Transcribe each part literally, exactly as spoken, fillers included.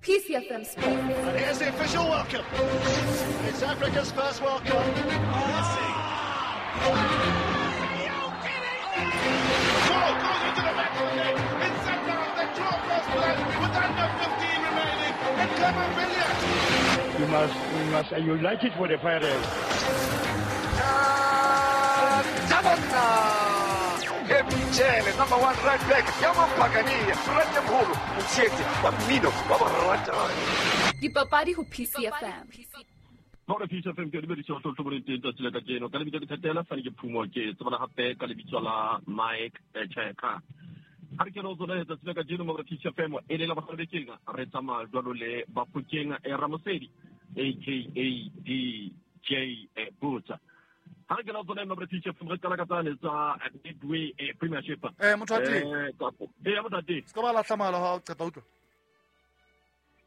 P C F M Sports. And here's the official welcome. It's Africa's first World Cup. Messi. Goal goes into the back of the net. It's set down. They draw first blood with under fifteen remaining. And Clement Billiard. You must, you must unite it for the Pirates. Michele, number one right back, Yama Pagani, Rajampolo, Mchete, Bamino, Baba. Dipapadi ho P C F M. Hore P C F M ke dumedisa ho tlotlo teng tsatsi la kajeno. Ka lebitso ke Thatela Fane ke Phumo ke tsebana hape ka lebitso la Mike Cheka. Ha re kena ho tsona tsatsi la kajeno mo P C F M e le la bohlabekeng re tsamaya jwalo le Bafokeng Ramosedi aka D J Butsa. Ha re kena ho tsona mo P C F M re qala ka tsane tsa Midway Premiership. Eh motho ate. Eh kapo. Eh motho ate. Se ka ba lahla mohala wa hao qeta utlwa.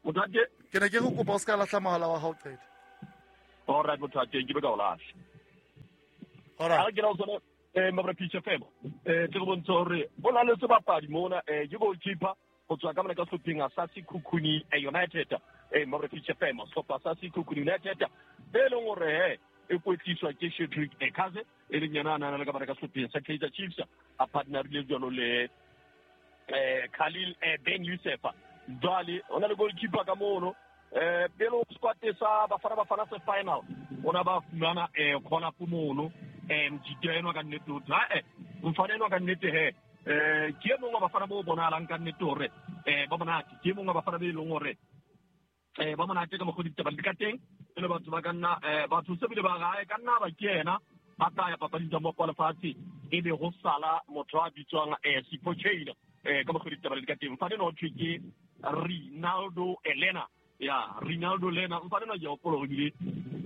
Motho ate. Ke ne ke go kopa o se ka lahla mohala wa hao qeta. All right, motho ate ke be ka o lahla. All right. Ha re kena ho tsona eh mo P C F M eh ke go bontsha hore o na le sebapadi mona eh ke goalkeeper go tswa ka mona ka sehlopheng sa Sekhukhune United eh mo P C F M sehlopha sa Sekhukhune United e leng hore he e kwetliswa ke Cedric Ekaze e leng yena a nana le ka mona ka sehlopheng sa Kaizer Chiefs a partnerile jwalo le eh Khalil Ben Youssef. Jwale o na le goalkeeper ka mono eh pele o squad sa Bafana Bafana se final ona ba fumana eh khona mono eh mjiteno ka nnete o tla eh mfanelo ka nnete he eh ke mongwe wa bafana bo bonalang ka nnete hore eh ba monate ke mongwe wa bafana be leng hore eh ba monate ka mokgwa ditaba di ka teng le batho ba ka nna eh batho se bile ba gae ka nna ba ke yena ba tla ya papading tsa mo lefatshe e be go sala motho a bitswang eh Sipho Chaine eh ka mokgwa ditaba di ka teng mfanelo o thwe ke Rinaldo Elena ya Rinaldo Elena mfanelo ke hopola hore bile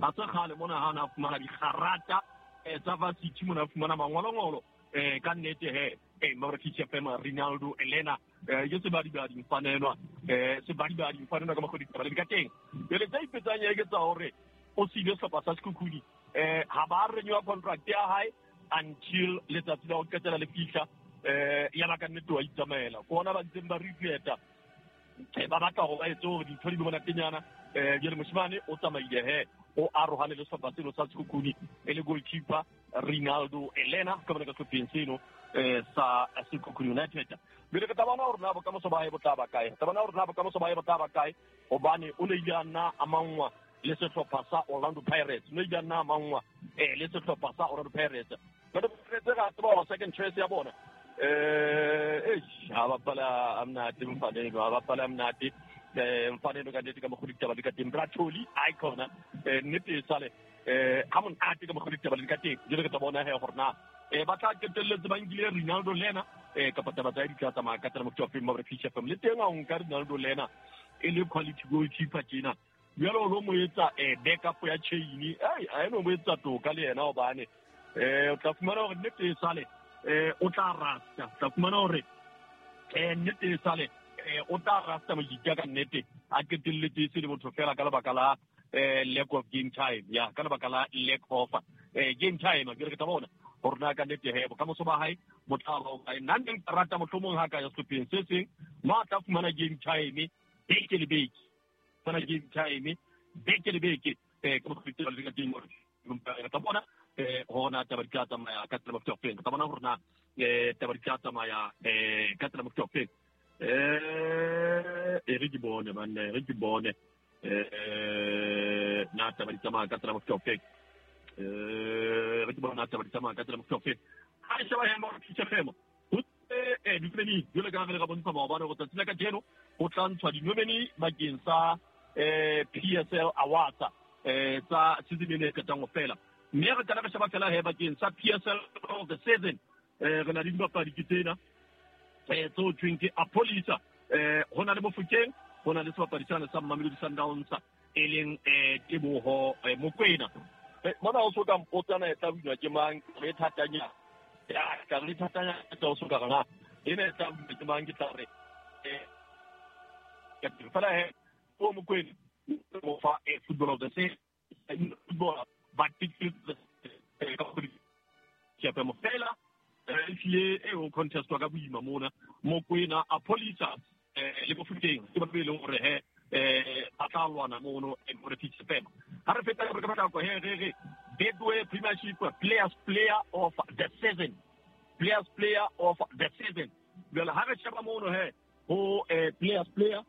a tsa kgale mona ha na fumana digarata eh tsa varsity mona fumana mangolongolo eh ka nnete he eh mo re P C F M Rinaldo Elena eh ke sebadibadi mfanelwa eh sebadibadi mfanelwa ka mokgwa ditaba di ka teng jwale tsa ipetsang ya ke tsa hore o sile sehlopha sa Sekhukhune eh ha ba renew contract ya hae until letsatsi la ho qetela le fihla eh ya ba ka nnete wa itsamaela ke ona ba ntseng ba repeata eh ba batla hore ba etse hore dintho di be monatenyana eh jwale moshimane o tsamaile he o arohane le sehlopha seno sa Sekhukhune e le goalkeeper Rinaldo Elena ka mona ka sehlopheng seno eh sa Sekhukhune United. Jwale ke tla bona hore na bokamoso ba hae bo tla ba kae, tla bona hore na bokamoso ba hae bo tla ba kae hobane o ne ile a nna a mangwa le sehlopha sa Orlando Pirates, o ne ile a nna a mangwa eh le sehlopha sa Orlando Pirates. Jwale Pirates ga tseba hore second choice ya bona eh eish ha bapala a monate mfanelo ha bapala a monate eh mfanelo ka nnete ka mokgwa ditaba di ka teng Bratoli icon eh nnete e sale eh ha monate ka mokgwa ditaba di ka teng jwale ke tla bona he hore na eh ba tla qetelletse ba nkile Rinaldo Lena eh kapa taba tsa di tla tsamaya ka tsela mokgwa wa Mo P C F M le teng a o nka Rinaldo Lena e le quality goalkeeper tjena jwale o lo mo etsa eh backup ya chain ai a eno mo etsa toka le yena hobane eh o tla fumana hore nnete e sale eh o tla rasta tla fumana hore eh nnete e sale eh o tla rasta mojika ka nnete a qetelletse se le motho fela ka lebaka la eh lack of game time ya ka lebaka la lack of eh game time ke re ke tla bona hore na ka nnete he bokamoso ba hae bo tla ba kae. Nna nne nka rata mohlomong ha ka ya sehlopheng se seng mo a tla fumana game time beke le beke fumana game time beke le beke eh ka mokgwa ditaba di ka teng hore re tla bona eh hore na taba di tla tsamaya ka tsela mokgwa ofeng, re tla bona hore na eh taba di tla tsamaya eh ka tsela mokgwa ofeng eh e re ke bone banna e re ke bone eh na taba di tsamaya ka tsela mokgwa ofeng eh re ke bona taba di tsamaya ka tsela mokgwa ofeng ha e sheba he mo P C F M ho eh dinomeni jwale ka re ka bontsha maobane hore tsatsi la kajeno ho tla ntshwa dinomeni bakeng sa eh P S L Awards eh tsa season ena e qetang ho fela mme re qala re sheba fela he bakeng sa P S L of the season eh re na le dibapadi ke tsena eh tseo thweng ke Apolisa eh ho na le Mofokeng ho na le sebapadi sane sa Mamelodi Sundowns e leng eh Teboho Mokoena. Mona o so ka mpotsana e tla winwa ke mang re thatanya ya ka re thatanya tsa o so ka rona ene e tla winwa ke mang ke tla re eh ka fela he o Mokoena mo fa e football of the season football but ka go ke pe mo fela e tlile e o contest wa ka boima mona Mokoena Apolisa eh le Mofokeng ke ba be leng hore he eh ba tla lwana mono e more P F M. Ha re feta ka ka ko he re re Betway Premiership Players Player of the Season. Players Player of the Season. Jwale ha re sheba mono he ho eh Players Player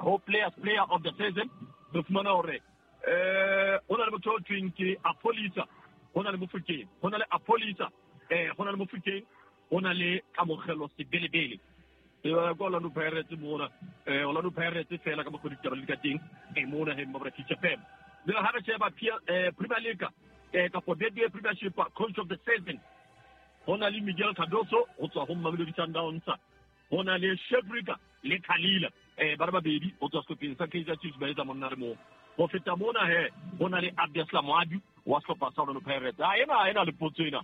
ho Players Player of the Season re fumana hore eh hona le motho o thweng ke Apolisa, hona le Mofokeng, hona le Apolisa, eh hona le Mofokeng, hona le Kamogelo Sebelebele. E ba ko Orlando Pirates mona, eh Orlando Pirates fela ka mokgwa ditaba le ka teng e mona he mabra F M. Jwale ha re sheba Premier League eh ka Betway Premiership Coach of the Season, hona le Miguel Cardoso ho tswa ho Mamelodi Sundowns, hona le Shebrika le Khalila eh ba babedi ho tswa sehlopheng sa Kaizer Chiefs ba etsa monna re mo. Ho feta mona he hona le Abdeslam Wadu wa sehlopha sa Orlando Pirates. Ah ena ena le potso ena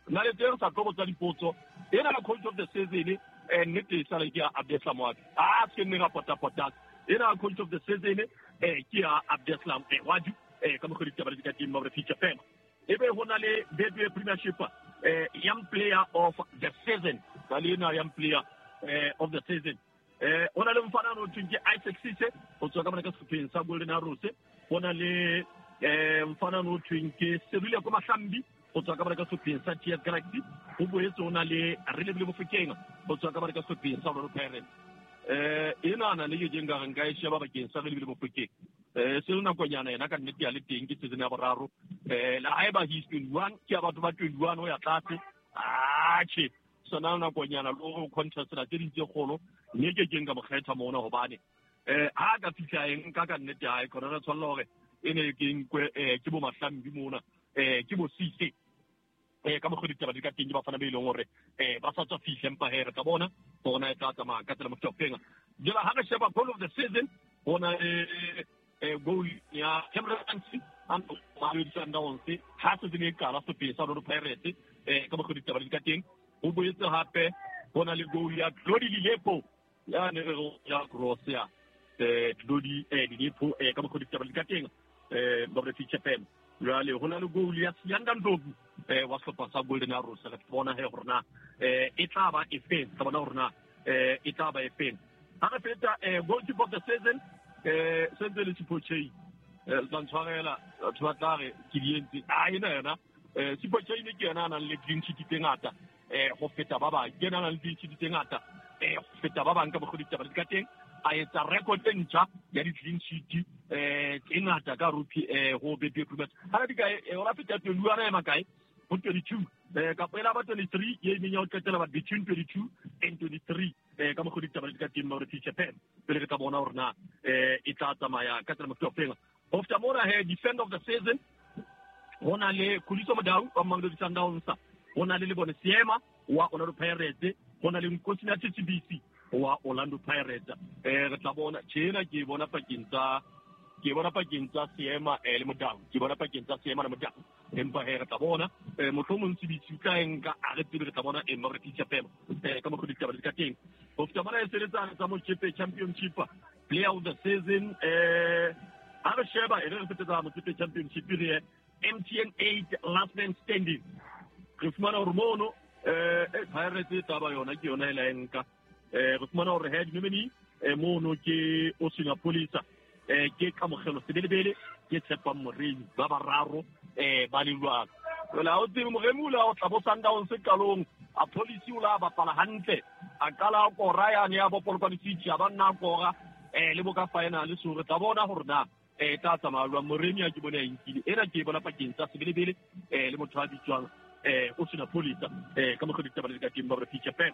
nna le teng sa tlo botsa dipotso ena la Coach of the Season eh nnete e sale ke ya Abdeslam Wadu. Ah se nne ga pota pota ena Coach of the Season eh ke ya Abdeslam Wadu eh ka mokgwa ditaba di ka teng mabra F M. Ebe hona le Betway Premiership eh Young Player of the Season, ba le ena Young Player eh of the Season. Eh hona le mfana no thweng ke Isaac Sise ho tswa ka mona ka sehlopheng sa Golden Arrows, hona le eh mfana no thweng ke Serile ko Mahlambi ho tswa ka mona ka sehlopheng sa T S Galaxy, ho boetse hona le Relebile Mofokeng ho tswa ka mona ka sehlopheng sa Orlando Pirates. Eh ena na le ke nka re nka e sheba bakeng sa Relebile Mofokeng. Eh se lona konyana yena ka nnete ya le teng ke season ya boraro. Eh la haeba he is twenty-one ke ya batho ba twenty-one ho ya tlase. Ah che sona na konyana lo go contest la tse ding tse kgolo mme ke keng ka mo kgetha mona hobane eh ha ka fihla eng ka ka nnete hae khona re tshwanela hore e ne ke nkwe eh ke bo Mahlambi mona eh ke bo Sise eh ka mokgwa ditaba di ka teng ke bafana be ileng hore eh ba sa tswa fihla empa he re tla bona bona e tla tsamaya ka tsela mofokeng. Jwale ha re sheba goal of the season bona eh eh goal ya Cameron and Mamelodi Sundowns ha se ne qala sehlopheng sa Orlando Pirates eh ka mokgwa ditaba di ka teng. Ho boetse hape hona le goal ya Glody Lilepo ya ne re ya cross ya eh Glody eh Lilepo eh ka mokgwa ditaba di ka teng eh ba re F M. Jwale hona le goal ya Siyanda Ndlovu eh wa sehlopha sa Golden Arrows. Re bona he hore na eh e tla ba efeng, tla bona hore na eh e tla ba efeng. Ha re feta eh goalkeeper of the season eh sentse le Sipho Chaine eh tla ntshwarela batho ba tla re ke di entse a ena yona eh Sipho Chaine ke yena a nang le clean sheet tse ngata eh ho feta ba bang, ke yena a nang le clean sheet tse ngata eh ho feta ba bang ka mokgwa ditaba di ka teng. A etsa record e ntjha ya di-clean sheet eh tse ngata ka rupee eh ho Betway Premiership. Ha di kae eh ora feta twenty-one a ema kae ho twenty-two eh kapa ela ba twenty-three ye neng ya ho qetela ba between twenty-two and twenty-three eh ka mokgwa ditaba di ka teng mabra F M. Pele re tla bona hore na eh e tla tsamaya ka tsela mokgwa fela. Ho feta mona he defender of the season hona le Khuliso Mudau wa Mamelodi Sundowns, hona le Lebone Seema wa Orlando Pirates, hona le Nkosinathi Sibisi wa Orlando Pirates. Eh re tla bona tjena ke bona pakeng tsa ke bona pakeng tsa Seema eh le Mudau, ke bona pakeng tsa Seema le Mudau. Empa he re tla bona eh mohlomong Sibisi tla enka a re tsebe re tla bona e mabra F M eh ka mokgwa ditaba di ka teng. Ho feta mona e sebetsana tsa Motsepe Championship Player of the Season eh ha re sheba e re fetsa Motsepe Championship re M T N eight last man standing. Re fumana hore mono eh Pirates taba yona ke yona e la enka eh re fumana hore head nominee eh mono ke Osina Polisa eh ke Kamogelo Sebelebele ke Tshepang Moremi ba bararo eh ba le lwana. Jwale ha o tsebe Moremi o la o tla bo Sundowns qalong a Police o la bapala hantle a qala a kora yane ya bo Polokwane City a ba nna kora eh le boka final so re tla bona hore na eh tla tsamaya jwang. Moremi a ke bone a nkile ena ke bona pakeng tsa Sebelebele eh le motho a bitswang eh Osina Polisa eh ka mokgwa ditaba di ka teng ba re F M.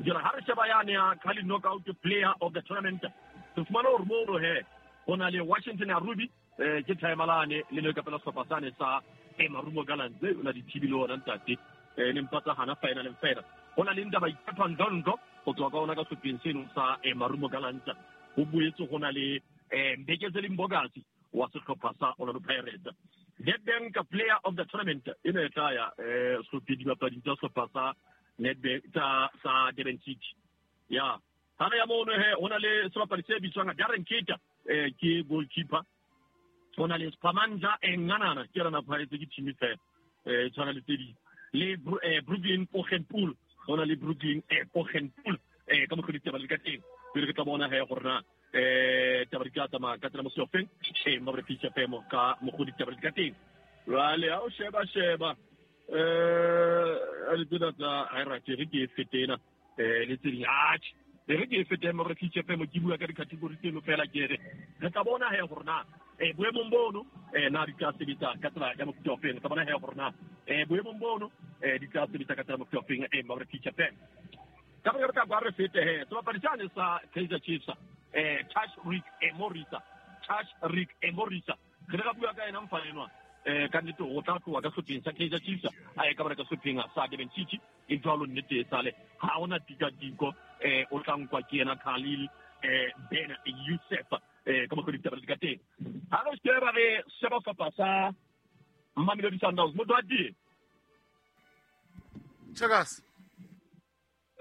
Jwale ha re sheba yane ya Carling Knockout Player of the Tournament re fumana hore mono he hona le Washington Arubi eh ke timelane le le ka pela sehlopha sane sa e Marumo Gallants o na di thibile ona ntate eh ne mpatsa hana final and final. Hona le Ndaba Iphathwa Ndlondo ho tswa ka ona ka sehlopheng seno sa e Marumo Gallants. Ho boetse hona le eh Mbekezeli Mbokazi wa sehlopha sa Orlando Pirates. Nedbank Player of the Tournament ena e tla ya eh sehlopha dibapadi tsa sehlopha sa Nedbank tsa sa Durban City. Ya ha re ya mono he hona le sebapadi se bitswang Darren Keita eh ke goalkeeper. Hona le Spamanja Enganana ke rana Pirates ke team fela eh tshwana le tse ding le Brooklyn Poggenpoel, hona le Brooklyn eh Poggenpoel eh ka mokgwa ditaba di ka teng. Pele re tla bona he gore na eh taba di tla tsamaya ka tsela mosofeng e mabra Peach F M ka mogodi taba di ka teng. Jwale ha o sheba sheba eh a le tsena tsa hierarchy re ke e fetena eh le tse ding atjhe re ke e fetena mabra Peach F M ke bua ka di-category tseno fela ke re re tla bona he gore na eh boemong bono eh na di tla sebetsa ka tsela ya mofuta ofeng. Re tla bona he gore na eh boemong bono eh di tla sebetsa ka tsela mofuta ofeng eh mabra Peach F M. Ka re tla kwa re fete he sebapadi sane sa Kaizer Chiefs eh Tash Rick Emorisa Tash Rick Emorisa re ka bua ka ena mfa enwa eh ka nnete o tla tloha ka sehlopheng sa Kaizer Chiefs a ye ka bara ka sehlopheng sa Durban City e jwalo nnete e sale ha ona tikatiko eh o tla nkwa ke yena Khalil eh Ben Youssef eh ka mokgwa ditaba di ka teng. Ha re sheba re sheba sehlopha sa Mamelodi Sundowns motho a teng Checkers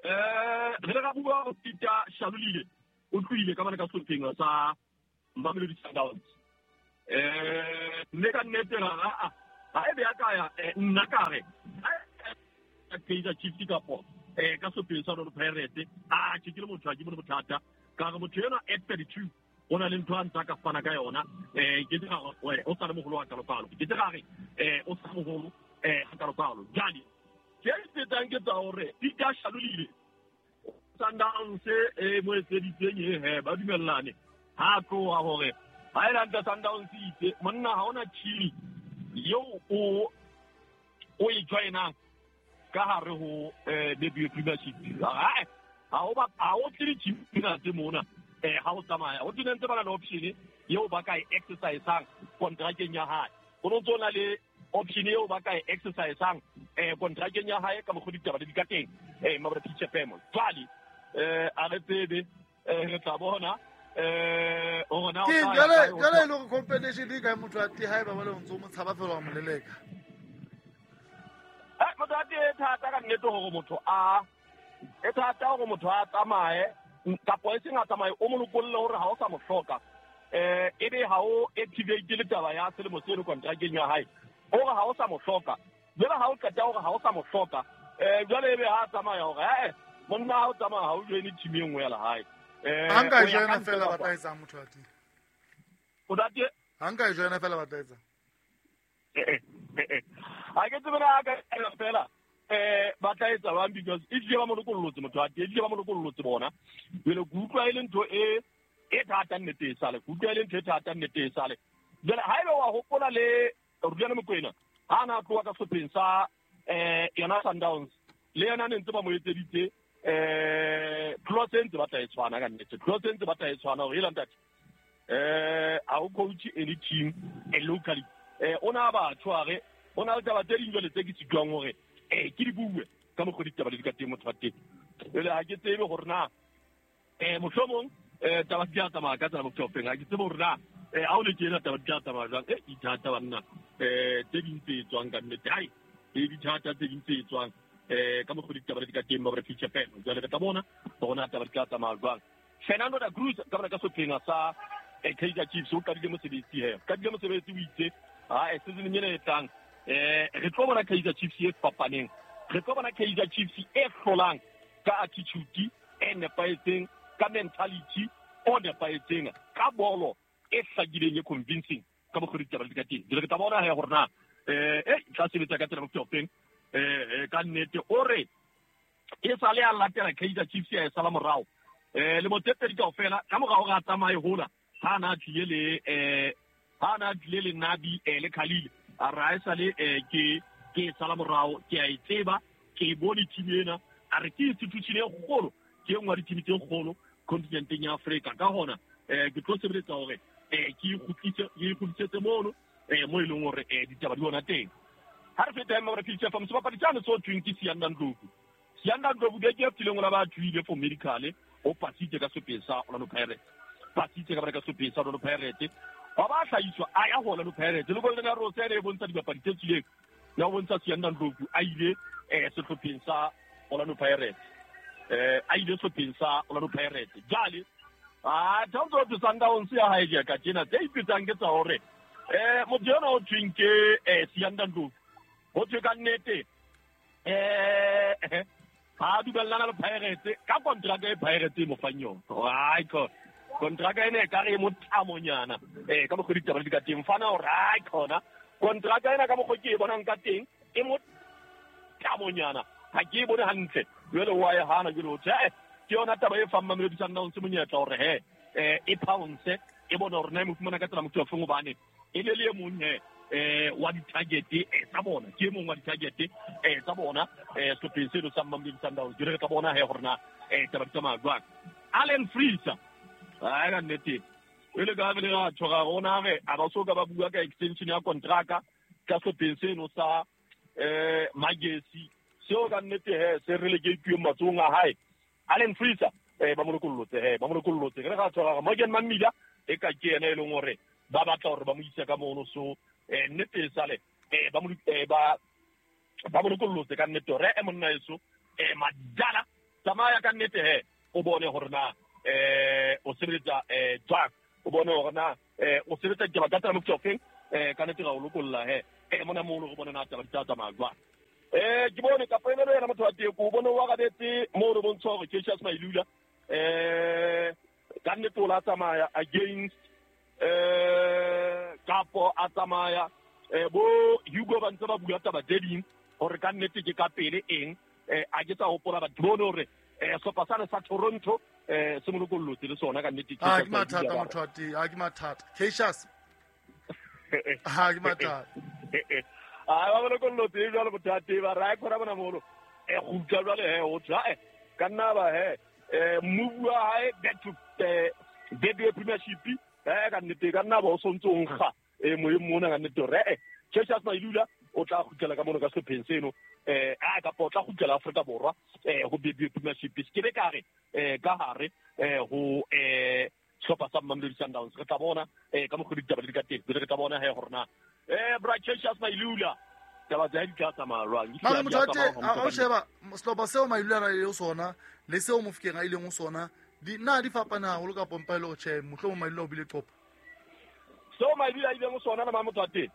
eh re ka bua go Peter Shalulile o tlohile ka bana ka sehlopheng sa Mamelodi Sundowns eh nne ka nnete ga a ha e be ya ka ya nna ka re Kaizer Chiefs kapo eh ka sehlopheng sa Orlando Pirates a ke ke le motho a ke bone bothata ka re motho ena at thirty-two o na le ntho a ntse ka fana ka yona eh ke tsega o sa le mogolo wa kalopalo ke tsega re eh o sa mogolo eh ga kalopalo jale ke fetang ke tsa hore Peter Shalulile Sundowns e mo etseditseng e he ba dumellane ha tloha hore ha e lanta Sundowns itse monna ha ona team eo o o e joinang ka hare ho eh debut premiership ha ha o ba ha o tle team tsena tse mona eh ha o tsamaya o tse ntse ba na le option eo ba ka e exercisang kontrakeng ya hae go ntse na le option eo ba ka e exercisang eh kontrakeng ya hae ka mokgwa ditaba di ka teng eh mabra Peach F M jwale eh a re tsebe eh re tla bona eh o rona o tla jwale jwale e le hore competition e kae motho a te haeba ba le ntse o mo tshaba fela wa mo leleka eh motho a te thata ka nnete hore motho a e thata hore motho a tsamaye kapo e seng a tsamaye o mo lokolle hore ha o sa mo hloka eh ebe ha o activate le taba ya selemo seno kontrakeng ya hae hore ha o sa mo hloka jwale ha o qeta hore ha o sa mo hloka eh jwale ebe ha tsamaya hore eh monna ha o tsamaya ha o joine team e nngwe ya lehae eh ha nka e joina fela ba tla etsang motho a teng o date ha nka e joina fela ba tla etsang eh eh ha ke tsebe na ka fela eh ba tla etsa bang because e tlile ba mo lokollotse motho a teng e tlile ba mo lokollotse bona jwale ke utlwa e le ntho e e thata nnete e sale ke utlwa e le ntho e thata nnete e sale jwale ha ebe wa hopola le Rulani Mokwena ha na tloha ka sehlopheng sa eh yona Sundowns le yona ne ntse ba mo etseditse eh clause e ntse ba tla e tshwana ka nnete clause e ntse ba tla e tshwana hore e ntate eh ha o coach any team e locally eh ona ba tshware ona le taba tse ding jwale tse ke sitwang hore eh ke di bue ka mokgwa ditaba di ka teng motho wa teng jwale ha ke tsebe hore na eh mohlomong eh taba di tla tsamaya ka tsela motho ofeng ha ke tsebe hore na eh ha o le tjena taba di tla tsamaya jwang eh dithata banna eh tse ding tse etswang ka nnete hai e dithata tse ding tse etswang eh ka mokgwa ditaba di ka teng ba re Peach F M jwale re tla bona hore na taba di tla tsamaya jwang. Fernando da Cruz ka bona ka sehlopheng sa Kaizer Chiefs o qadile mosebetsi he qadile mosebetsi o itse ha e season ena e tlang eh re tlo bona Kaizer Chiefs e fapaneng re tlo bona Kaizer Chiefs e hlolang ka attitude e nepahetseng ka mentality o nepahetseng ka bolo e hlakileng e convincing ka mokgwa ditaba di ka teng jwale re tla bona he hore na eh e tla sebetsa ka tsela motho ofeng eh ka nnete o re e sale a latela Kaizer Chiefs ya e sala morao eh le motsetedi kaofela ka morao ga tsamaye hola ha na tlile le eh ha na tlile le Nabi eh le Khalil a ra e sale eh ke ke sala morao ke a e tseba ke e bone team ena a re ke institution e kgolo ke nngwe ya di-team tse kgolo continenteng ya Afrika ka hona eh ke tlo sebeletsa hore eh ke ikgutlise ke ikgutlisetse mono eh mo e leng hore eh ditaba di ona teng. Ha re feta mme re Peach F M sebapadi sane so thweng ke Siyanda Ndlovu Siyanda Ndlovu ke ke fileng ola ba thuile for medical o pasitse ka sehlopheng sa Orlando Pirates pasitse ka bara ka sehlopheng sa Orlando Pirates ba ba hlahiswa a ya ho Orlando Pirates le Golden Arrows ene e bontsha dibapadi tse tswileng ya bontsha Siyanda Ndlovu a ile eh sehlopheng sa Orlando Pirates eh a ile sehlopheng sa Orlando Pirates jale ah tshwanetse ho Sundowns ya hae ka tjena tse ipetsang ke tsa hore eh motho yona o thweng ke eh Siyanda Ndlovu ho thwe ka nnete eh ha dumellana le Pirates ka contract e Pirates e mo fang yona. Ai ko Kontraka ena e ka re e motlamonyana eh ka mokgwa ditaba di ka teng fana o ra khona kontraka ena ka mokgwa ke e bonang ka teng e motlamonyana ha ke e bone hantle jwale wa e hana jwale o tjhe ke yona taba e fang Mamelodi Sundowns monyetla hore he eh e pounce e bone hore na e mo fumana ka tsela motho wa feng hobane e le le e mong he eh wa di-target eh tsa bona ke e mong wa di-target eh tsa bona eh sehlopheng seno sa Mamelodi Sundowns jwale re tla bona he hore na eh taba di tsamaya jwang. Allen Freezer ai ka nnete e le ka le ra tshwara rona re a ba so ka ba bua ka extension ya kontraka ka sehlopheng seno sa eh Magesi seo ka nnete he se relegateilwe matsohong a hae. Allen Freezer eh ba mo lokollotse he ba mo lokollotse re ra tshwara Morgan Mamila e ka ke yena e leng hore ba batla hore ba mo ise ka mono so eh nnete e sale eh ba mo eh ba ba mo lokollotse ka nnete hore e monna eso eh madala tsamaya ka nnete he o bone hore na eh o sebetsa eh jwang o bone hore na eh o sebetsa ke ba ka tsela motho ofeng eh ka nnete ra o lokolla he eh mona mo re bone na taba di tla tsamaya jwang. Eh ke bone ka poemelo yena motho wa teko o bone wa rabetse mo re bontsha hore Cassius Mailula eh ka nnete o la tsamaya against eh kapo a tsamaya eh bo Hugo ba ntse ba bua taba tse ding hore ka nnete ke ka pele eng eh a ke tsa hopola batho bone hore eh sehlopha sane sa Toronto eh se mo lokollotse le sona ka nnete ke ha ke mathata motho wa teng ha ke mathata Cassius ha ke mathata a ba mo lokollotse jwalo motho wa teng ba ra khona bona molo e kgutla jwale he o tswa eh ka nna ba he eh move wa hae back to eh Betway Premiership eh ka nnete ka nna ba o sontse o nkga eh moyeng mona ka nnete hore eh Cassius Mailula o tla kgutlela ka mono ka sehlopheng seno eh a kapa o tla kgutlela Afrika Borwa eh ho Betway Premiership se ke be ka re eh ka hare eh ho eh sehlopha sa Mamelodi Sundowns re tla bona eh ka mokgwa ditaba di ka teng re tla bona he hore na eh bra Cassius Mailula taba tsa di tla tsamaya jwang. Mara motho wa teng ha o sheba sehlopha seo Mailula a nang le sona le seo Mofokeng a ileng ho sona di na di fapana haholo ka pompa ile o tjhe mohlomong Mailula o bile qopa seo Mailula a ileng ho sona le motho wa teng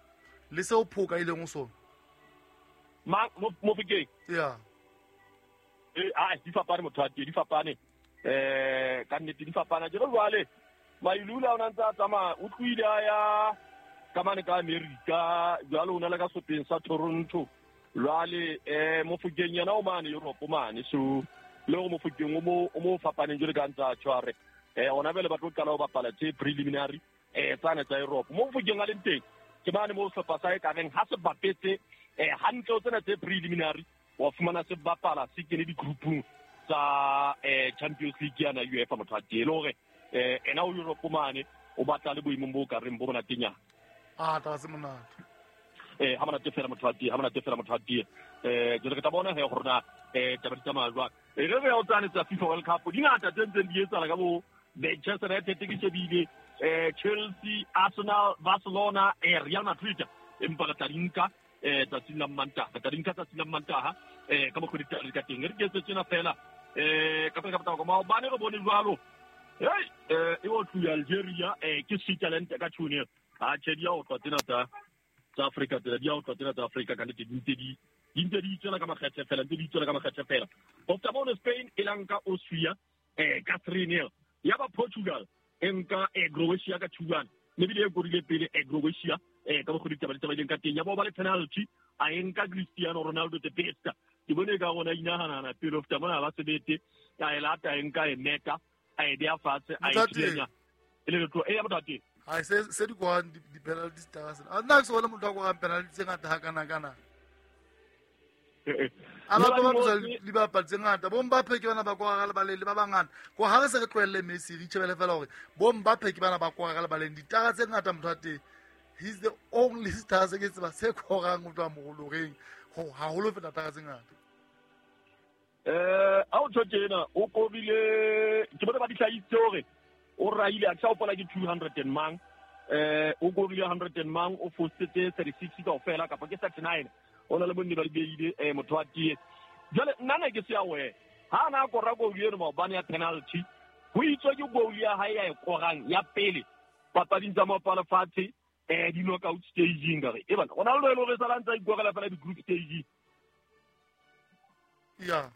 le seo Phoka a ileng ho sona ma Mofokeng ya eh a di fapane motho wa teng di fapane eh ka nnete di fapana jalo jwale Mailula o na ntse a tsamaya o tlohile a ya ka mane ka America jwale o na le ka sehlopheng sa Toronto jwale eh Mofokeng yena o mane Europe mane so le hore Mofokeng o mo o mo fapaneng jwale ka ntse a tshware eh ona bele ba tlo qala ho bapala tse preliminary eh tsane tsa Europe mo Mofokeng a leng teng ke mane mo sehlopha sa e ka reng ha se bapetse eh hantle o tsena tse preliminary wa fumana se bapala se kene di-groupung tsa eh Champions League yana UEFA motho wa teng le hore eh ena o Europe mane o batla le boemong bo ka reng bo monatenyana. Ah taba se monate eh ha monate fela motho wa teng ha monate fela motho wa teng eh jwale re tla bona he hore na eh taba di tsamaya jwang e re re ya o tsane tsa FIFA World Cup di ngata tse ntseng di etsahala ka bo Manchester United ke shebile eh Chelsea, Arsenal, Barcelona, eh Real Madrid empa re tla di nka eh tsatsing la Mantaha re tla di nka tsatsing la Mantaha eh ka mokgwa ditaba di ka teng re ke etse tsena fela eh ka pele ka potako maobane re bone jwalo hey eh e o tluya Algeria eh ke Switzerland ka two nil a tjhe di a otlwa tsena tsa tsa Afrika tsena di a otlwa tsena tsa Afrika ka nnete di ntse di di ntse di itswela ka makgethe fela ntse di itswela ka makgethe fela ho feta mono Spain e la nka Austria eh ka three nil ya ba Portugal e nka eh Croatia ka two one mme ebile e korile pele eh Croatia eh ka mokgwa ditaba di tsamaileng ka teng ya bo ba le penalty a e nka Cristiano Ronaldo the best ke bone ka rona inahanana pele ho feta mona ba sebete a e lata e nka e meta a e beha fatshe a e thulenya e le letlo e ya motho wa teng ha se se di kwang di-penalty tsa sena a nna ke se bone motho a korang penalty tse ngata hakana-kana a ba ba bapisa dibapadi tse ngata bo Mbappe ke bana ba kora ka lebaleng le ba bangata ko ha re se re tlohelle Messi re itjhebele fela hore bo Mbappe ke bana ba kora ka lebaleng ditara tse ngata motho wa teng he's the only star se ke tseba se korang ho tloha moroloreng ho haholo feta tara tse ngata eh a o tjho tjena o korile ke bone ba di hlahisitse hore o raile a ke sa hopola ke two hundred and mang eh o korile one hundred and mang o fositse thirty-six kaofela kapa ke thirty-nine o na le bonne ba di beile eh motho wa tie jwale nna ne ke se ya we ha na kora goal eno maobane ya penalty ho itswe ke goal ya hae ya e korang ya pele papading tsa maoto a lefatshe eh di knockout staging ka re e bana Ronaldo e le hore sala ntse a ikorela fela di-group stage ya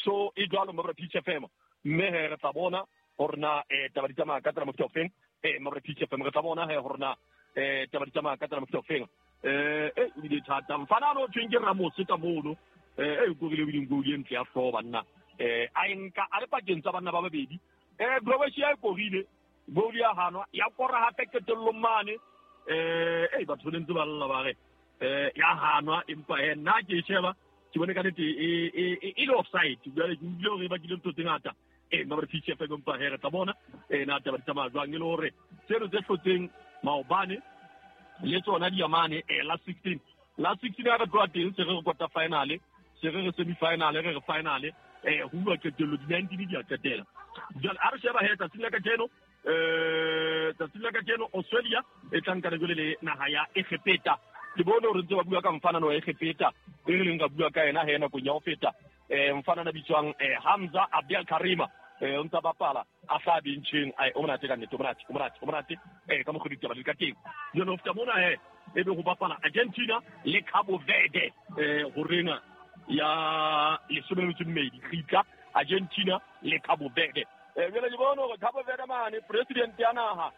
so e jwalo mo re P F M mme he re tla bona hore na eh taba di tsamaya ka tsela mofuta ofeng eh mabra P C F M re tla bona he hore na eh taba di tsamaya ka tsela mofuta ofeng eh eh o bile thata mfana no thweng ke Ramos ka mono eh e korile o bileng goal e ntle ya hlooho banna eh a nka a le pakeng tsa banna ba babedi eh Croatia e korile goal ya hanwa ya kora hape qetellong mane eh eh batho le ntse ba lla ba re eh ya hanwa empa he nna ke sheba ke bone ka nnete e e e le offside jwale ke utlwile hore ba kile ntho tse ngata eh mabra P C F M empa he re tla bona eh na taba di tsamaya jwang e le hore tseno tse hlotseng maobane le tsona di yamane eh la sixteen la sixteen ha re tloha teng se re re quarter final se re re semi final re re final eh ho bua qetello di nineteen di a qetela jwale a re sheba he tsatsing la kajeno eh tsatsing la kajeno Australia e tla nka jwale le naha ya Egepeta ke bone hore ntse ba bua ka mfana wa Egepeta e re leng ka bua ka yena he nakong ya ho feta eh mfana na bitswang eh Hamza Abdel Karima eh o ntsa bapala a hla bencheng ai o monate ka nnete o monate o monate o monate eh ka mokgwa ditaba di ka teng jwale ho feta mona he e be ho bapala Argentina le Cabo Verde eh horeng ya lesome le metso e mmedi kgitla Argentina le Cabo Verde eh jwale ke bone hore Cabo Verde mane president ya naha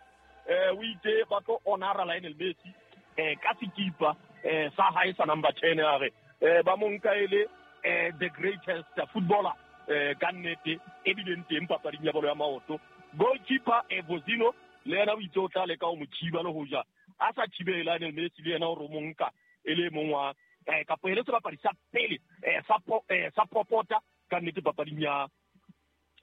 eh o itse ba tlo honora Lionel Messi eh ka sekipa eh sa hae sa number ten a re eh ba mo nka ele eh the greatest footballer eh ka nnete e bileng teng papading ya bolo ya maoto goalkeeper Evozino le yena o itse o tla leka ho mo thiba le ho ja a sa thibele Lionel Messi le yena o re mo nka e le mong wa eh kapo e le sebapadi sa pele eh sa eh sa popota ka nnete papading ya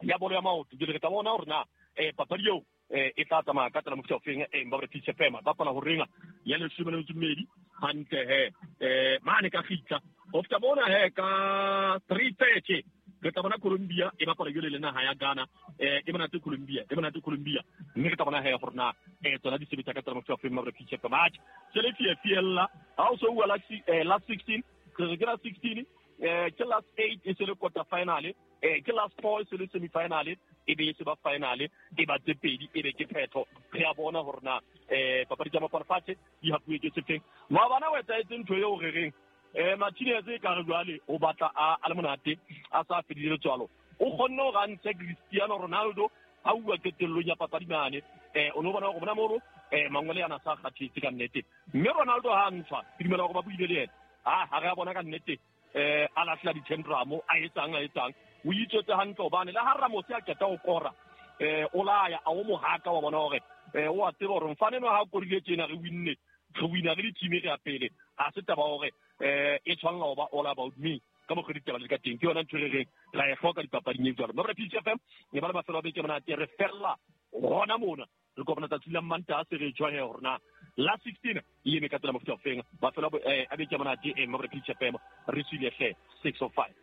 ya bolo ya maoto jwale re tla bona hore na eh papadi eo eh e tla tsamaya ka tsela mofuta ofeng eh mabra P C F M bapala ho renga ya leshome le metso e mmedi hantle he eh mane ka kgitla ho feta mona he ka three thirty re tla bona Colombia e bapala jwale le naha ya Ghana eh e monate Colombia e monate Colombia mme re tla bona he hore na eh tsona di sebetsa ka tsela mofuta ofeng mabra P C F M atjhe se le fie fiella ha o so bua la eh last sixteen re ke la sixteen eh ke last eight e se le quarter final eh ke last four e se le semi final e be se ba final e ba tse pedi e be ke phetho re a bona hore na eh papadi tsa mapala di hapuwe ke sefeng maobane o etsahetse ntho eo re reng eh Martinez e ka re jwale o batla a a le monate a sa fedile letswalo o kgonne hore a ntshe Cristiano Ronaldo a uwa qetellong ya papadi mane eh o no bona hore bona mono eh mangwele ana sa kgathetse ka nnete mme Ronaldo ha ntshwa ke dumela hore ba buile le yena ah ha re a bona ka nnete eh a lahlela di-tendramo a etsang a etsang o itswetse hantle hobane le ha Ramos a qeta ho kora eh o laya a o mohaka wa bona hore eh o a tseba hore mfane no ha korile tjena re winne re wina re le team e re ya pele ha se taba hore eh e tshwanela ho ba all about me ka mokgwa ditaba le ka teng ke yona ntho re reng ra e hloka dipapading e jwalo mabra P C F M e ba le mafelo a beke monate re fella hona mona re kopana tsatsi la Mantaha se re tjwa he hore na la sixteen e eme ka tsela mofuta ofeng mafelo a beke monate e mabra P C F M re tswile hle six oh five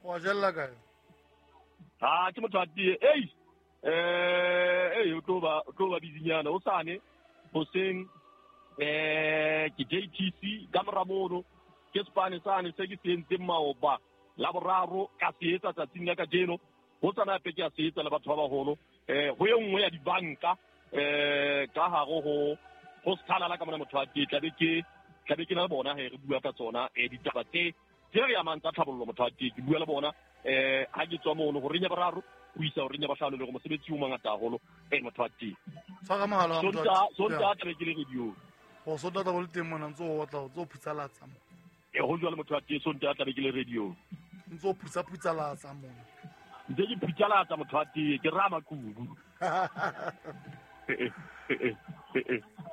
wa jella kae ah ke motho a tie ei eh ei o tlo ba o tlo ba bizinyana o sane hoseng eh ke J T C ka mora mono ke spane sane se ke se entseng maoba la boraro ka se etsa tsatsing la kajeno ho tsana hape ke a se etsa le batho ba baholo eh ho e nngwe ya dibanka eh ka hare ho ho sethala la ka mona motho a tee tlabe ke tlabe ke na le bona he re bua ka tsona eh ditaba tse tse re amang tsa tlhabollo motho a tee ke bua le bona eh ha ke tswa mono ho renya boraro ho isa ho renya bahlano le go mosebetsi o mongata haholo eh motho a tee tshwara mohala wa motho a tee. Sontaha tlabe ke le radio o sontaha tlabe o le teng mona ntse o otla o ntse o phutsalatsa mo e ho jwale motho a tee sontaha tlabe ke le radio ntse o phutsa phutsalatsa mona ntse ke phutsalatsa motho a tee ke rama kubu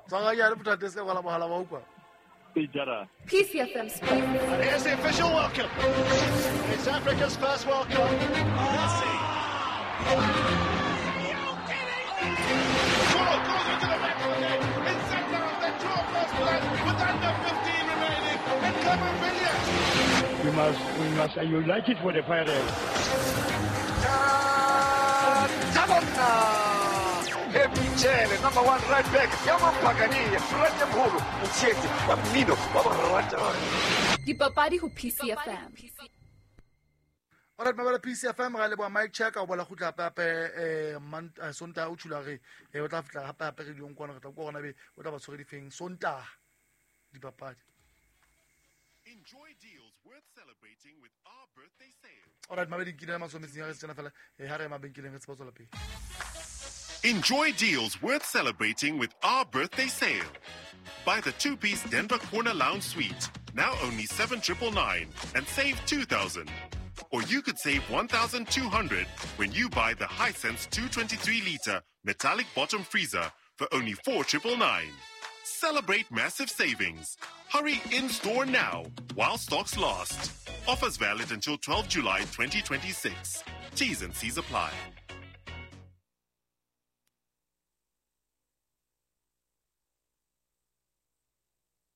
tshwara ke a le motho a tee se ka kwala mohala wa utlwa e jara P C F M Sports. Here's the official welcome. It's Africa's first World Cup. Messi. Goal goes into the back of the net. It's set down. The draw first blood with under fifteen remaining. And Clement Villiers. We must, we must unite it for the Pirates. Michele, number one right back. Yamampagani, Ratemholo, Mtshetsi, wa mmino, wa borata. Dipapadi ho P C F M. Alright, mabala P C F M ra leboha Mike Check a bola khutla hape hape eh Sontaha o tshula re eh o tla fitla hape hape radiong kwana re tla kwa gona be o tla ba tshwere difeng Sontaha dipapadi. Enjoy deals worth celebrating with our birthday sale. Alright, mabedi nkile masometsing a re tsena fela eh ha re mabenkeleng re tseba tswela pele. Enjoy deals worth celebrating with our birthday sale. Buy the two-piece Denver Corner Lounge Suite, now only seven triple nine, and save two thousand. Or you could save one thousand two hundred when you buy the Hisense two twenty-three liter metallic bottom freezer for only four triple nine. Celebrate massive savings. Hurry in-store now while stocks last. Offers valid until twelve July twenty twenty-six. T's and C's apply.